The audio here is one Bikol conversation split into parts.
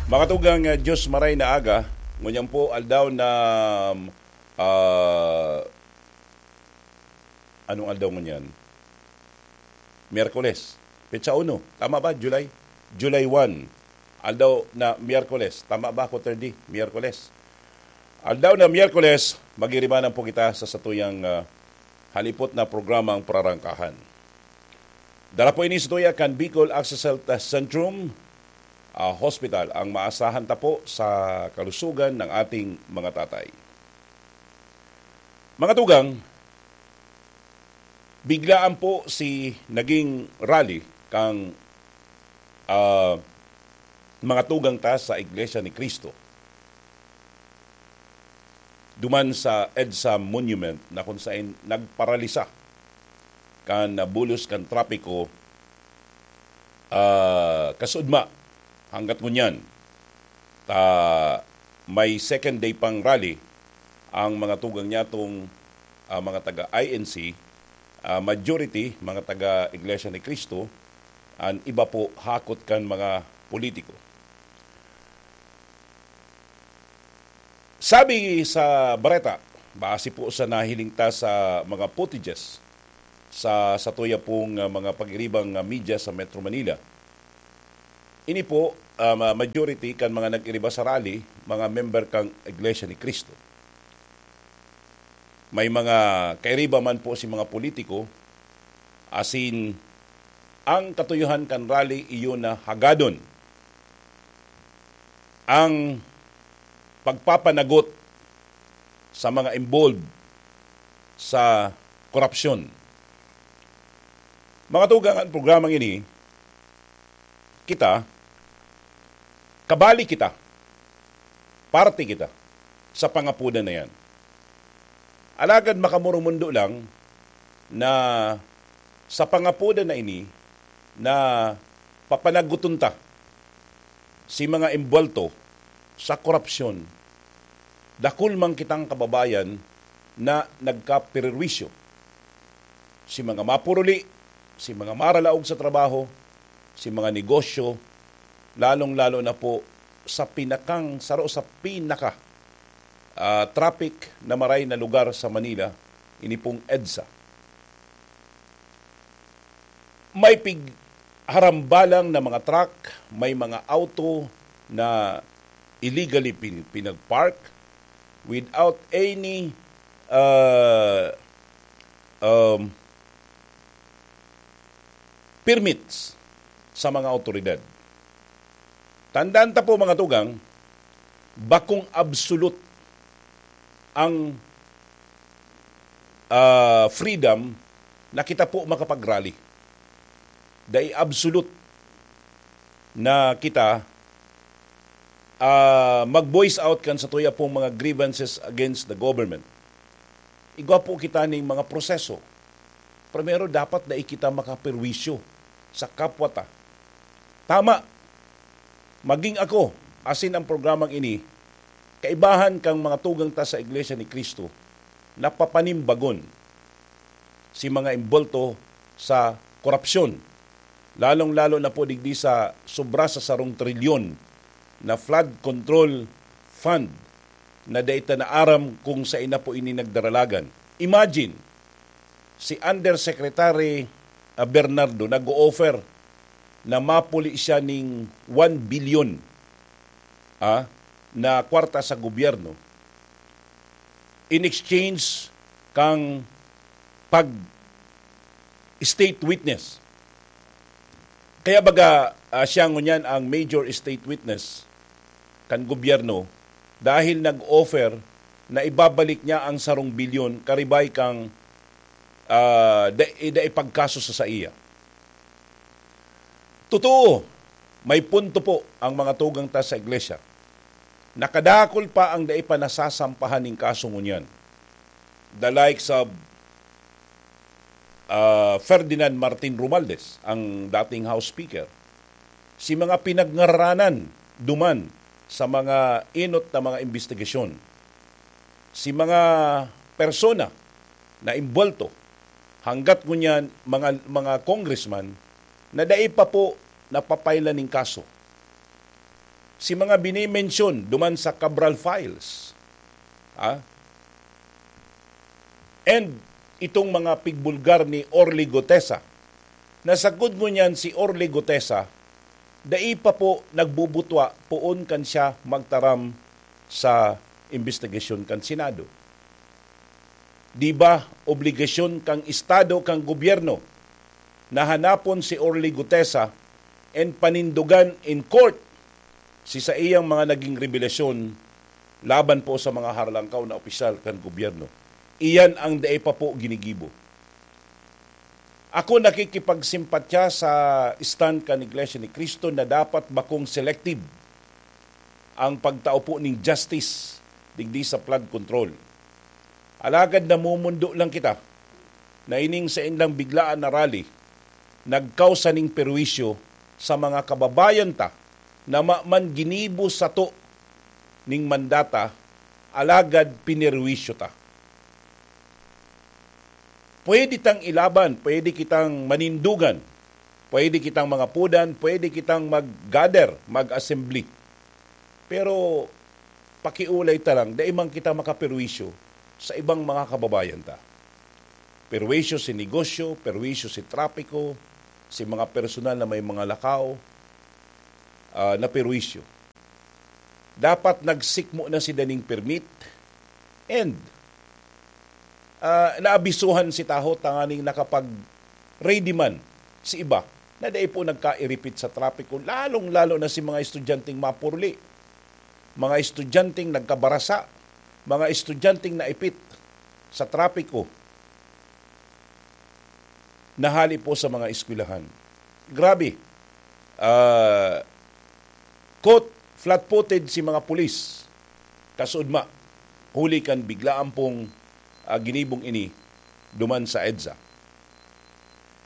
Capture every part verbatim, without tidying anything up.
Mga tugang, ah, Diyos maray na aga, ngunyan po aldaw na, ah, anong aldaw ngunyan? Miyerkules. Petsa uno. Tama ba? July? July one. Aldaw na Miyerkules. Tama ba ako, thirty? Miyerkules. Aldaw na Miyerkules, magiribanan po kita sa satuyang, ah, halipot na programang Prarangkahan. Dala po ini sa tuya kan Bicol Access Health Centrum, ah, Hospital, ang maasahan ta po sa kalusugan ng ating mga tatay. Mga tugang, biglaan po si naging rally kang, ah, mga tugang ta sa Iglesia ni Cristo duman sa EDSA Monument na kung sain nagparalisa kan bulos kan trapiko, ah, kasudma hanggat ngunyan. Ta may second day pang rally ang mga tugang niya tong, ah, mga taga I N C, ah, majority mga taga Iglesia ni Cristo, an iba po hakot kan mga politiko. Sabi sa bareta, base po sa nahiling ta sa mga footages sa, sa tuya pong, ah, mga pag-iribang, ah, media sa Metro Manila, ini po, ah, ma-, majority kan mga nag-iriba sa rally, mga member kang Iglesia ni Cristo. May mga kairiba man po si mga politiko, asin ang katuyohan kan rally iyo na hagadon ang pagpapanagot sa mga involved sa korupsyon. Mga tugang, ang programang ini, kita, kabali kita, parte kita sa pangapodan na yan. Alagad makamurumundo lang na sa pangapodan na ini na papanaguton ta si mga embuwelto sa korupsyon, dakul man kitang kababayan na nagkaperwisyo. Si mga mapuruli, si mga maralaog sa trabaho, si mga negosyo, lalong-lalo na po sa pinakang, saro sa pinaka, ah, traffic na maray na lugar sa Manila, ini pong EDSA. May pig-, harambalang na mga truck, may mga auto na illegally pin-, pinag-park without any, uh, um, permits sa mga awtoridad. Tandaan ta po, mga tugang, bakong absolute ang, ah, freedom na kita po makapag-rally. Dai absolute na kita, ah, mag-voice out kan satuya pong mga grievances against the government. Igwa po kita ning mga proseso. Primero, dapat dai kita makaperwisyo sa kapwa ta. Tama, maging ako, asin ang programang ini, kaibahan kang mga tugang ta sa Iglesia ni Cristo, napapanimbagon si mga embuwelto sa korupsyon, lalong-lalo na po digdi sa sobra sa sarong trilyon na flood control fund na dai ta naaram kung sain na po ini nagdaralagan. Imagine, si Undersecretary, ah, Bernardo nag-o-offer na mapuli siya ning one billion, ah, na kwarta sa gobyerno in exchange kang pag-state witness. Kaya baga, ah, siya ngunyan ang major state witness kan gobyerno dahil nag-offer na ibabalik niya ang sarong bilyon karibay kang, ah, da-, da ipagkaso sa saiya. Totoo, may punto po ang mga tugang ta sa iglesia. Nakadakul pa ang dai pa nasasampahan nin kaso ngunyan. The likes of, ah, Ferdinand Martin Romualdez, ang dating House Speaker. Si mga pinagngaranan duman sa mga enot na mga imbestigasyon. Si mga persona na imbuwelto, hanggat ngunyan mga, mga congressman na dai pa po napapailan nin kaso. si mga binimensyon duman sa Cabral Files. Ah? And itong mga pigbulgar ni Orly Gutesa. Nasagkod ngunyan si Orly Gutesa, dai pa po nagbubutwa poon kan siya magtaram sa imbestigasyon kan Senado. Di ba, obligasyon kang Estado, kang gobyerno, na hanapon si Orly Gutesa and panindogan in court si saiyang mga naging rebelasyon laban po sa mga harlangkaw na opisyal kan gobyerno. Iyan ang dai pa po ginigibo. Ako nakikipagsimpatya sa stand kan Iglesia ni Cristo na dapat bakong selective ang pagtao po ning justice digdi sa flood control. Alagad namumundo lang kita na ining saindang biglaan na rally nagkausa ning perwisyo sa mga kababayan ta na maman ginibo sato ning mandata, alagad pinerwisyo ta. Pwede tang ilaban, pwede kitang manindugan, pwede kitang mangapodan, pwede kitang mag-gather, mag-assembly. Pero pakiulay ta lang, dai man kita makaperwisyo sa ibang mga kababayan ta. Perwisyo si negosyo, perwisyo si trapiko, si mga personal na may mga lakaw, ah, na perwisyo. Dapat nagsikmo na si daning permit and, ah, naabisuhan si taho tanganing nakapag-ready man si iba na dai po nagkairipit sa trapiko, lalong-lalo na si mga estudyanteng mapurli, mga estudyanteng nagkabarasa, mga estudyanteng naipit sa trapiko na hali po sa mga eskwelahan. Grabe. Ah, caught flat-footed si mga pulis, kasuodma, huli kan biglaan pong, ah, ginibong ini duman sa EDSA.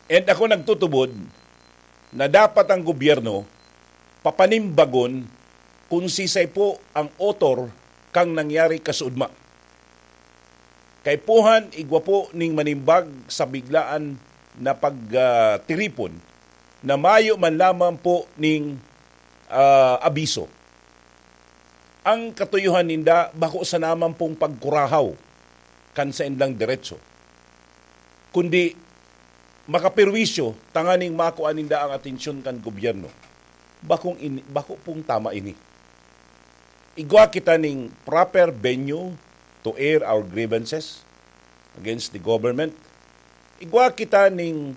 And ako nagtutubod na dapat ang gobyerno papanimbagon kung sisay po ang author kang nangyari kasuodma. Kaipuhan, igwa po ning manimbag sa biglaan na pagtiripon na mayo man lamang po ning, ah, abiso. Ang katuyohan ninda, bako sana man pong pagkurahaw kan saindang deretso, kundi makaperwisyo tanganing makua ninda ang atensyon kan gobyerno. Bakong ini, bako pong tama ini. Igwa kita ning proper venue to air our grievances against the government. Igwa kita ning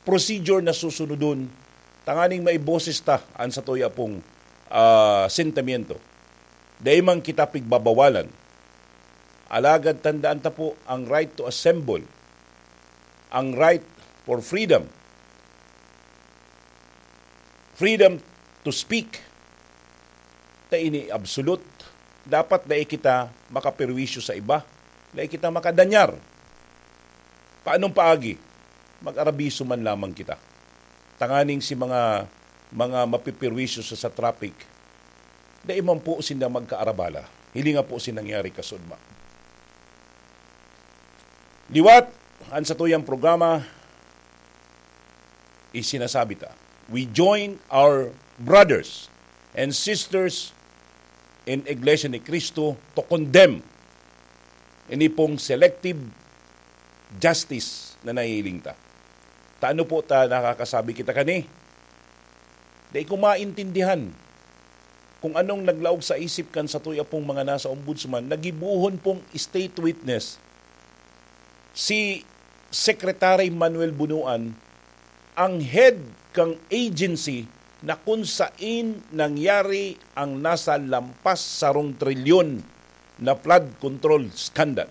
procedure na susunodon tanganing maiboses ta an satuya pong, ah, sentimiento. Dai man kita pigbabawalan. Alagad tandaan ta po ang right to assemble, ang right for freedom, freedom to speak. Ta ini absolute. Dapat dai kita makaperwisyo sa iba, dai kita makadanyar. Paanong paagi? Mag-arabiso man lamang kita. Tanganing si mga, mga mapipirwisyo sa, sa traffic, dai man po sinda magkaarabala. Hilinga po si nangyari kasudma. Liwat, ang satuyang programa, isinasabi ta, we join our brothers and sisters in Iglesia ni Cristo to condemn ini pong selective justice na nahihiling ta. Ta ano po ta nakakasabi kita kani? Dai ko maintindihan kung anong naglaog sa isip kan satuya pong mga nasa ombudsman na gibohon pong state witness si Secretary Manuel Bonoan, ang head kang agency na kun sain nangyari ang nasa lampas sarong trilyon na flood control scandal.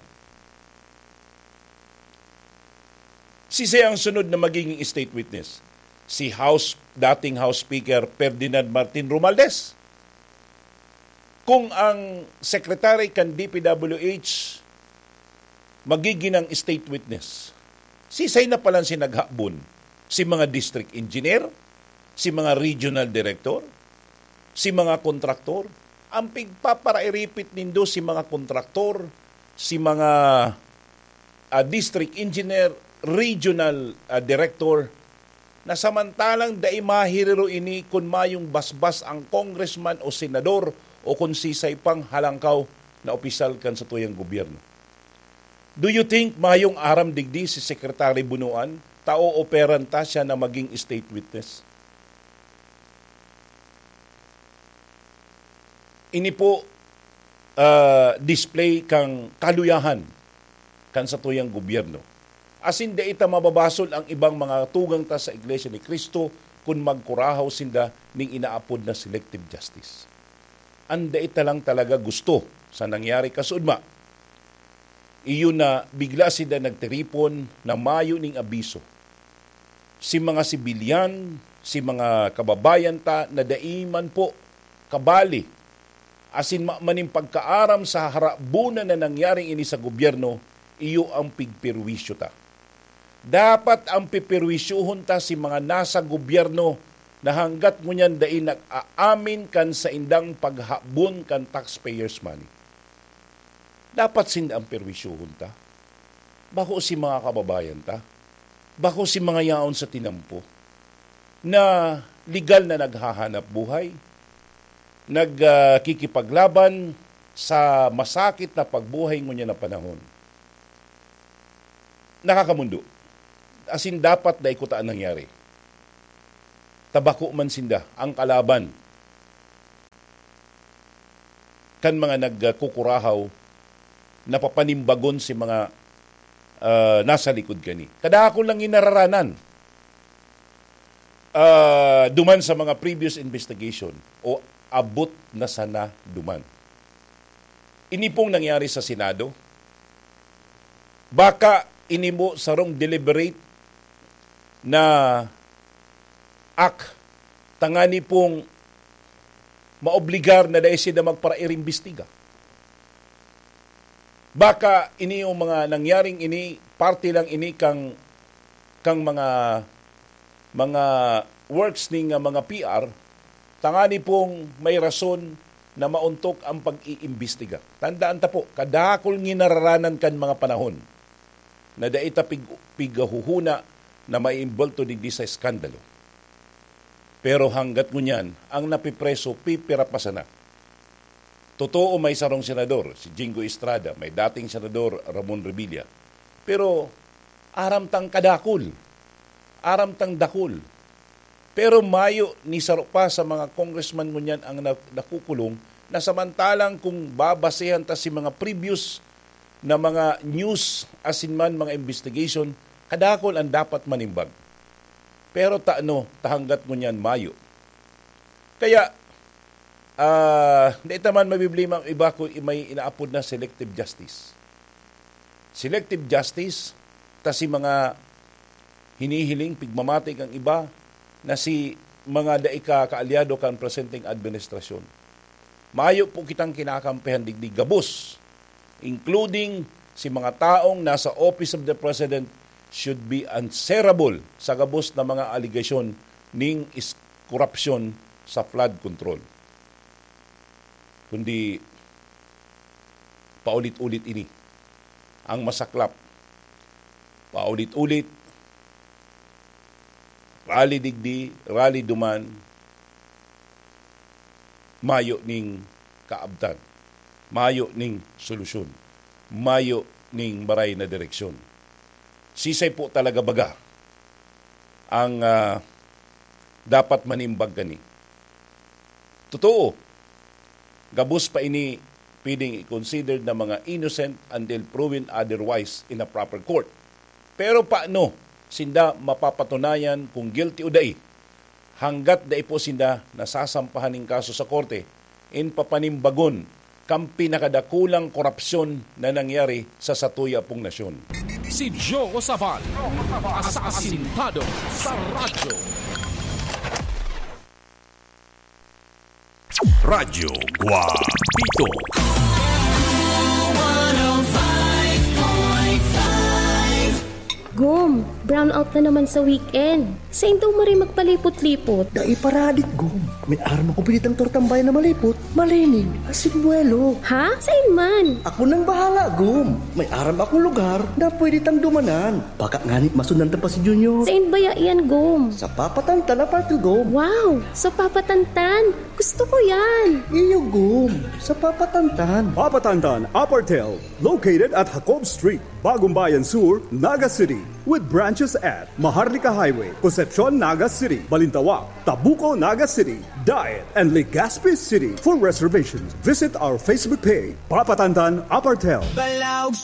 Sisay ang sunod na magiging state witness? Si House, dating House Speaker Ferdinand Martin Romualdez. Kung ang secretary kan D P W H magiging ang state witness, sisay na palan si naghabon? Si mga district engineer? Si mga regional director? Si mga kontraktor? Ang pigpaparairipit nindo si mga kontraktor, si mga, ah, district engineer, regional, ah, director, na samantalang dai maherero ini kun mayong basbas ang congressman o senador o kun sisay pang halangkaw na opisyal kan satuyang gobyerno. Do you think mayong aram digdi si Secretary Bunuan? Tao operan ta siya na maging state witness. Ini po, ah, display kan kaluyahan kan satuyang gobyerno. Asin dai ta mababasol ang ibang mga tugang ta sa Iglesia ni Cristo kun magkurahaw sinda ning inaapod na selective justice. An dai ta lang talaga gusto sa nangyari kasuodma, iyo na bigla sinda nagtiripon na mayo ning abiso. Si mga sibilyan, si mga kababayan ta na dai man po kabali asin ma-, maning pagkaaram sa harabunan na nangyaring ini sa gobyerno, iyo ang pigperwisyo ta. Dapat ang piperwisyohon ta si mga nasa gobyerno na hanggat ngunyan dai nag-aamin kan saindang paghabon kan taxpayers' money. Dapat sinda ang perwisyohon ta. Bako si mga kababayan ta. Bako si mga yaon sa tinampo na legal na naghahanap buhay, nag, ah, kikipaglaban sa masakit na pagbuhay ngunyan na panahon. Nakakamundo. Asin dapat dai kuta an nangyari. Ta bako man sinda ang kalaban kan mga nagkukurahaw na papanimbagon si mga, ah, nasa likod kani. Kadakul lang ginararanan, ah, duman sa mga previous investigation o abot na sana duman. Ini pong nangyari sa Senado, baka ini mo sarong deliberate na act tangani pong maobligar na dai sinda magparairimbestiga. Baka ini yung mga nangyaring ini, parte lang ini kang, kang mga, mga works ning, ah, mga P R, tangani pong may rason na maontok ang pag-iimbestiga. Tandaan ta po, kadakul ginararanan kan mga panahon na dai ta pig-, pigahuhuna na maiimbolto digdi sa eskandalo. Pero hanggat ngunyan, ang napipreso, pipira pa sana. Totoo, may sarong senador, si Jinggoy Estrada, may dating senador, Ramon Revilla. Pero aram tang kadakul, aram tang dakul. Pero mayo ni saro pa sa mga congressman ngunyan ang na-, nakukulong, na samantalang kung babasehan ta si mga previous na mga news asin man mga investigation, kadakul ang dapat manimbag. Pero ta ano, ta hanggat ngunyan mayo. Kaya, ah, di ta man mabiblima ang iba kung may inaapod na selective justice. Selective justice, ta si mga hinihiling, pigmamati kan iba, na si mga dai ka kaalyado kan presenteng administrasyon. Mayo po kitang kinakampihan digdi gabos, including si mga taong nasa Office of the President, should be answerable sa gabos na mga aligasyon ning is-, korupsyon sa flood control. Kundi paulit-ulit ini. Ang masaklap, paulit-ulit, rally digdi, rally duman, mayo ning kaabtan, mayo ning solusyon, mayo ning maray na direksyon. Sisay po talaga baga ang, ah, dapat manimbag kani? Totoo, gabos pa ini pwedeng i-consider na mga innocent until proven otherwise in a proper court. Pero paano sinda mapapatunayan kung guilty o dai? Hanggat dai po sinda nasasampahan nin kaso sa korte, in papanimbagon kan pinakadakulang korupsyon na nangyari sa satuya pong nasyon. Si Joe Sabal, asasintado sa radyo. Radyo Guapito. Gum, Brownout na naman sa weekend. Sain daw maray magpalipot-lipot? Dai pa radik, Gom. May aram ako pwede tang tortang bayan na malipot, malinig, asin buwelo. Ha? Sain man? Ako nang bahala, Gom. May aram akong lugar na pwede tang dumanan. Baka ngani masundan ta pa si Junior. Sain baya yan, Gom? Sa Papa Tantan Apartel, Gom. Wow! Sa Papa Tantan! Gusto ko yan! Iyo, Gom. Sa Papa Tantan. Papa Tantan Apartel, located at Jacob Street, Bagumbayan Sur, Naga City, with branches at Maharlika Highway, Concepcion, Naga City, Balintawak, Tabuco, Naga City, Daet, and Legazpi City. For reservations, visit our Facebook page, Papa Tantan Apartel. Balaog